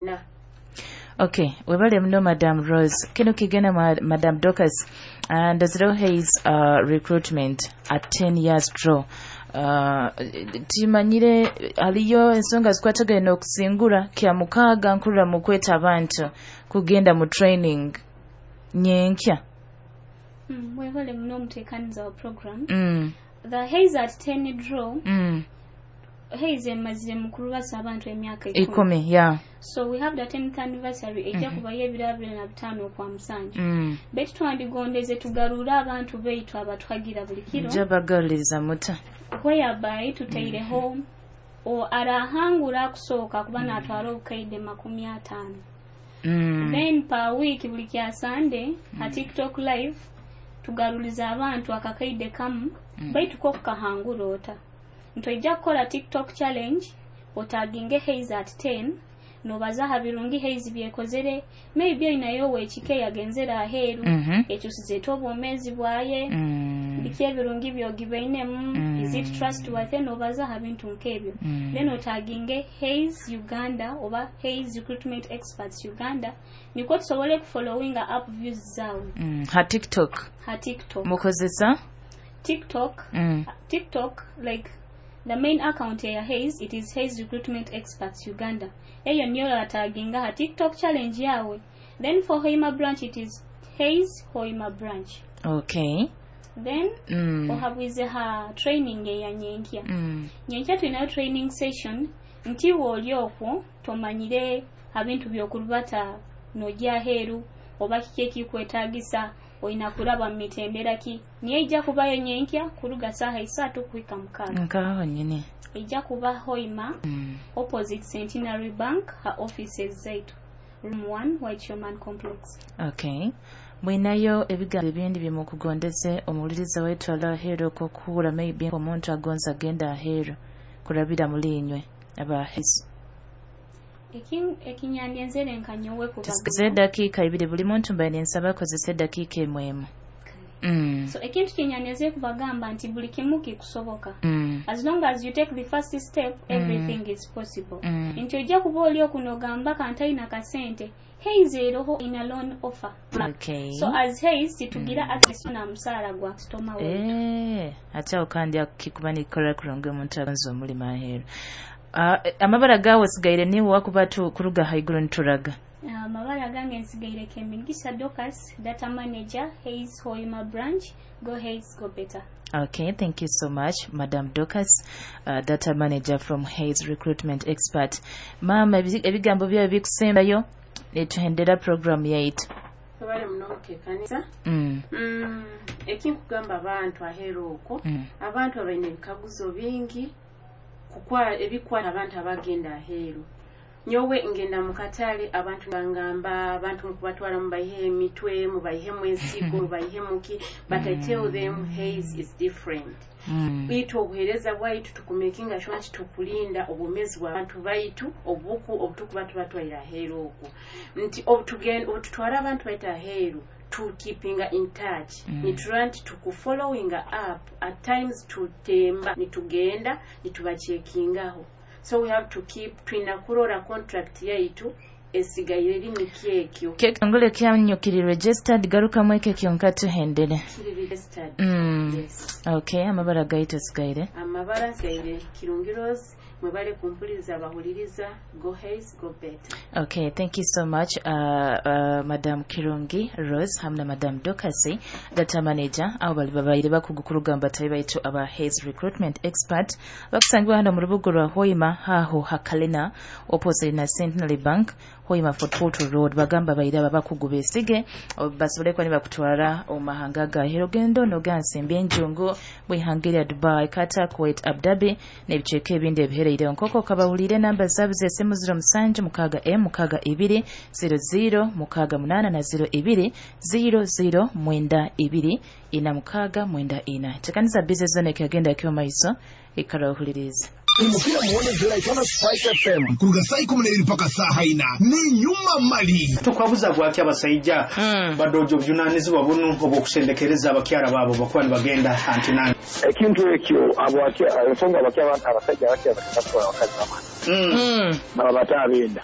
Na. Okay, webale muno, Madam Rose. Kino kigenda Madam Dorcas. And zero Hays recruitment at 10 years draw. Timanyire aliyo ensonga zikwatagana n'okusingura kya mukaaga nkurra mu kweta abantu kugenda mu training nyenkya. Webale muno, omuteekaniza wa program. The Hays at 10 draw. Hays emazire mu kulubasa abantu emyaka 10. 10, yeah. So we have the 10th anniversary ejja kubayo ebiro 25 okwa musanju. Baitu twandigondeze tugarure abantu baitu abatuhagira buli kiro. Njabagaliriza muta. Whereby tutaireho o arahangura akusooka kuba natwara obukaide 50. Then per week, buli kya Sunday, ha TikTok live tugaruliza abantu akakaide kamu. Baitu ko kukahangura ota ntoija kukola TikTok challenge, otaginge Hays at 10, nobaza ha birungi Hays byekozere. Maybe oyinayo owekika yagenzere aheeru, ekyusize obwomeezi bwaye, biki ebirungi byogibainemu, is it trustworthy, nobaza ha bintu nk'ebyo. Then otaginge Hays Uganda oba Hays Recruitment Experts Uganda, nikwo tusobole kufollowinga up views zaawe. Ha TikTok. Ha TikTok. Mukozesa TikTok. TikTok, like the main account ya Hays, it is Hays Recruitment Experts Uganda. Eyo niyo ataginga ha TikTok challenge yawe. Then for Hoima branch, it is Hays Hoima branch. Then ohabwize ha training eya nyenkya. Nyenkya tulinayo training session nti wooli okwo tomanyire abintu byokurubata nojja aheeru oba kiki ekikwetaagisa, olina kuraba mu mitendera ki, niyo ejja kubayo nyenkya kuruga saaha 3 kuhika 6. Nkaho nyine. Ejja kuba Hoima, opposite Centenary Bank, ha offices zaitu, room 1, White Showman Complex. Okay, mwinayo ebigambo ebindi byemukugondeze omuwuliriza waitu ali aheeru okukuhura? Maybe omuntu agonza agenda aheeru kurabira muri inywe aba Hays. Ekinyandyenzere nka nyowe Tusigaze edakiika 2. Buli muntu mbaye nensaba akozesa edakiika emu emu. So ekintu kyenyaneze kubagamba nti buli kimu kikusoboka. As long as you take the first step, everything is possible. Nti ojja kuba oli okunogamba kantalina kasente, Hays eroho ina loan offer. So as Hays titugira access na musaala gwa customer waitu. Eh, ate awo kandi akikuba nikikola kurungi omuntu agonza omulimu aheeru. Amabara gawe osigaire niwe wakuba kuruga haiguru nituraga. Amabara gange nsigaire Kemigisa Dorcas, data manager, Hays Hoima branch. Go Hays, go better. Okay, thank you so much, Madam Dorcas, data manager from Hays Recruitment Expert. Mama, ebigambo byawe bikusembayo netuhendera program yaitu. Webale muno, omuteekaniza. Ekinkugamba abantu aheeru okwo, abantu abalina ebikaguzo bingi ebikwata abantu abagenda aheeru. Nyowe ngenda mu katale, abantu bangamba abantu mukubatwala mubayihe emitwe, mubayihemu ensigo, mubayihe muki, but I tell them Hays is different. Bitu obuheereza bwaitu tukumakinga sure nti tukulinda obwomeezi bw'abantu baitu obuku obutukuba tubatwaire aheeru okwo, nti obututwara abantu baitu aheeru, tukeepinga in touch. Niturora nti tukufollowinga up. At times tutemba nitugenda nitubachekingaho. So we have to keep, twina kurora contract yaitu esigaire eri nikyo ekyo. Kekitongole kyanyu kiri registered? Garukamu ekyo kyonka tuhendere. Kiri registered. Yes. Okay, amabara gaitu osigaire? Amabara nsigaire Kirungi Rose. Mwebale kumpuliriza, abahuliriza. Go Hays, go better. Okay, thank you so much, Madam Kirungi Rose hamwe na Madam Dorcas, data manager, abo bali babaire bakugukurugamba batayi baitu aba Hays Recruitment Expert bakusangibwa hano mu rubuga rwa Hoima, haho hakalina opposite na Centenary Bank, Hoima Fort Portal Road. Bagamba baire aba bakugu besige basobole kuba nibakutwara omu mahanga gahero, ogenda nogansimba enjungu bwihanga erya Dubai, Qatar, Kuwait, Abu Dhabi n'ebicweka ebindi ebihereire. Nkoko kabahulire namba zaabo z'esimu: 07 6 m 6 2 0 0 6 8 na 02 00 9 2 4 6 9 4. Tekanisa bize zone kyagenda kiwa maiso, ikara ohulirize. Umupira muone Jolaitana Spice FM kuruga saa 12 mpaka saa 4 ni nyuma mali. Tukwabuza gwaki abasaija badojo obuvunanyizibwa bunu obwokusendekereza abakyara baabo bakuba nibagenda antinani? Ekintu ekyo ensonga abakya abasajja abakya batwala abakazi bamala baba bataabenda.